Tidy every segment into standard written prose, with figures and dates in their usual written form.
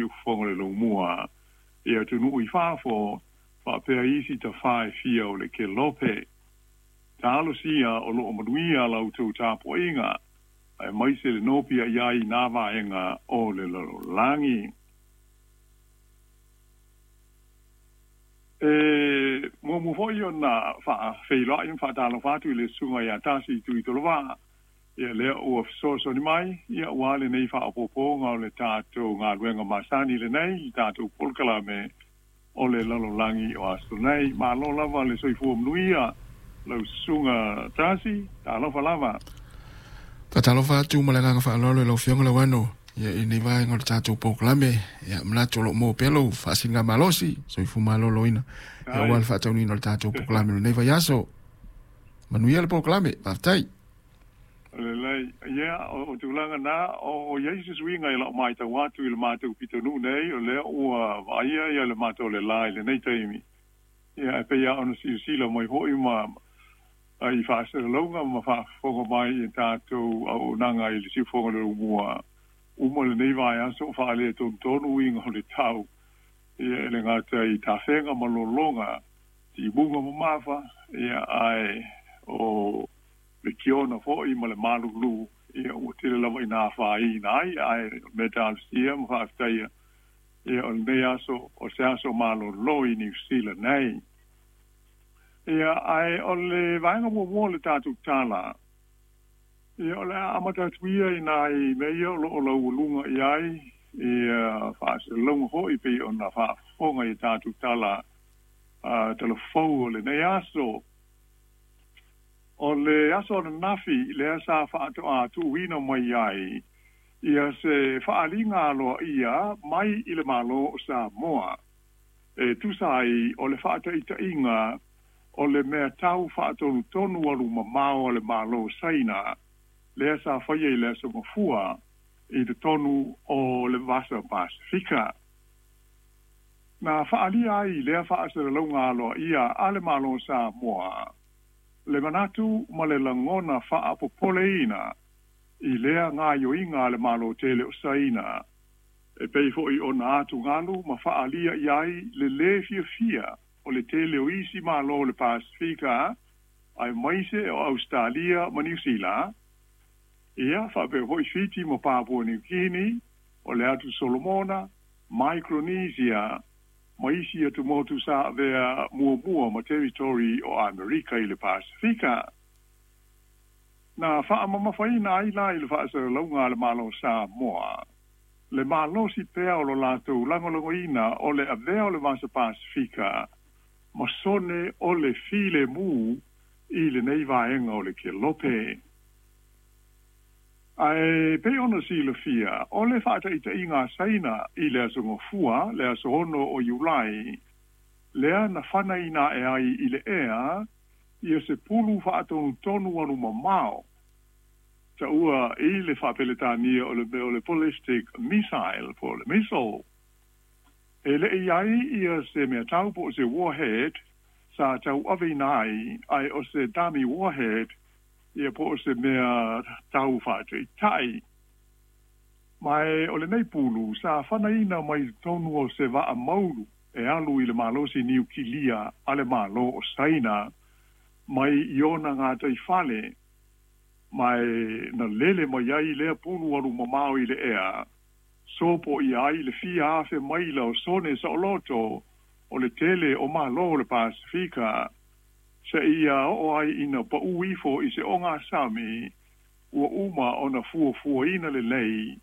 siufofoga o le laumua i atunuu i fafo faapea isi tafā e fia o le kelope. Talosia o loo manuia la outou tapuaiga aemaise le nopiai ai i nā vaega o le lalolagi. E muamua foi ona faafeiloai ma faatalofa atu i le susuga ia Tasi Tuitolovaa, ia lea ua fesoasoani mai ia aua lenei faaopoopoga o le tatou galuega masani lenei, le tatou polokalame o le lalolagi o aso nei. Malo lava le soifua manuia lau susuga Tasi, talofa lava. Faatalofa atu ma le agaga faaaloalo i lau Afioga Lauano ia i lenei vaega o le tatou polokalame. Ia manatu o lo o maua pea lou faasiligamalosi, soifua maloloina ia aua le faataunuuina o le tatou polokalame o lenei vaiaso. Manuia le polokalame, faafetai. Lelei. Ia, o tulaga na, o i ai se suiga i lau matau atu i le matou pitonuu nei, o lea ua vaaia ia le matou le la i lenei taimi. Ia, ae pei lava ona silasila mai foi ma i faasalalauga ma faafofoga mai i tatou auaunaga i le siufofoga o le Laumua, uma lenei vaiaso o faaletonu uiga o le tau. Ia, e le gata i tafega ma lologa, timuga ma mafa, ia, ae o le kiona foi ma le malulu, ia ua tele lava ina afaina ai, ae o le mea talosia ma faafetaia, ia o lenei aso o se aso malolo i Niu Sila nei. Ia, ae o le vaega muamua o le tatou tala, ia o le a amata atu ia i nai mea ia o lo o laualuga i ai ia faasalalauga foi pei ona faafofoga i tatou tala talafou o lenei aso. O le aso ananafi lea sa faatoa tuuina mai ai ia se faaaliga aloaia mai i le Malo o Samoa e tusa ai o le faataitaiga o le mea tau faatonutonu alu mamao a le Malo o Saina lea sa faia i le aso Gafua i totonu o le Vasa Pasefika. Na faaalia ai lea faasalalauga aloaia a le Malo o Samoa le manatu ma le lagona faapopoleina i lea gaoioiga a le Malo tele o Saina, e pei foi ona atugalu ma faaalia i ai le lē fiafia o le tele o isi Malo o le Pasefika aemaise o Ausetalia ma Niu Sila, ia faapea foi Fiti ma Papua Niu Kini, o le atu Solomona, Micronesia ma isi atumotu sa avea muamua ma territory o Amerika i le Pasefika. Na faamamafaina ai la i le faasalalauga a le Malo o Samoa le malosi pea o lo latou lagolagoina o le avea o le Vasa Pasefika ma sone o le filemu i lenei vaega o le kelope. Ae pei ona silafia, o le faataitaiga a Saina i le aso Gafua, le aso 6 o Iulai, lea na fanaina ae ai i le ea ia se pulu faatonutonu alu mamao, taua i le faapeletania o le mea o le ballistic missile po o le missile. E le i ai ia se mea tau po o se warhead sa tauaveina ai, ae o se dummy warhead ia po o se mea tau faataitai. Ma e o lenei pulu sa fanaina mai totonu o se vaa maulu e alu i le malosi niukilia a le Malo o Saina mai i ona gataifale, ma e na lele mai ai lea pulu alu mamao i le ea, sopo ia ai le fia afe maila o sone saoloto o le tele o Malo o le Pasefika, seia oo ai ina pau ifo i se ogasami ua uma ona fuafuaina lelei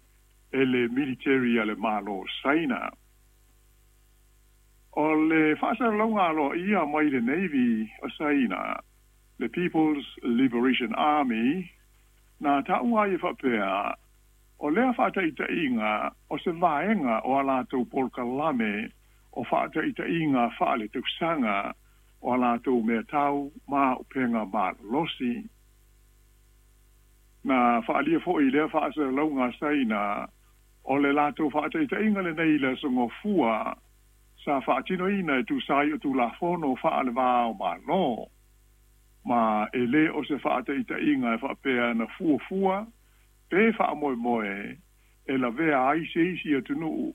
e le military a le Malo o Saina. O le faasalalauga aloaia mai le Navy o Saina, le People's Liberation Army, na taua ai e faapea, o lea faataitaiga o se vaega o a latou polokalame o faataitaiga faaletausaga o a latou mea tau ma upega malolosi. Na faaalia foi i lea faasalalauga a Saina, o le latou faataitaiga lenei i le aso Gafua sa faatinoina e tusa ai o Tulafono faale-va o Malo, ma e lē o se faataitaiga e faapea na fuafua pe faamoemoe e lavea ai se isi atunuu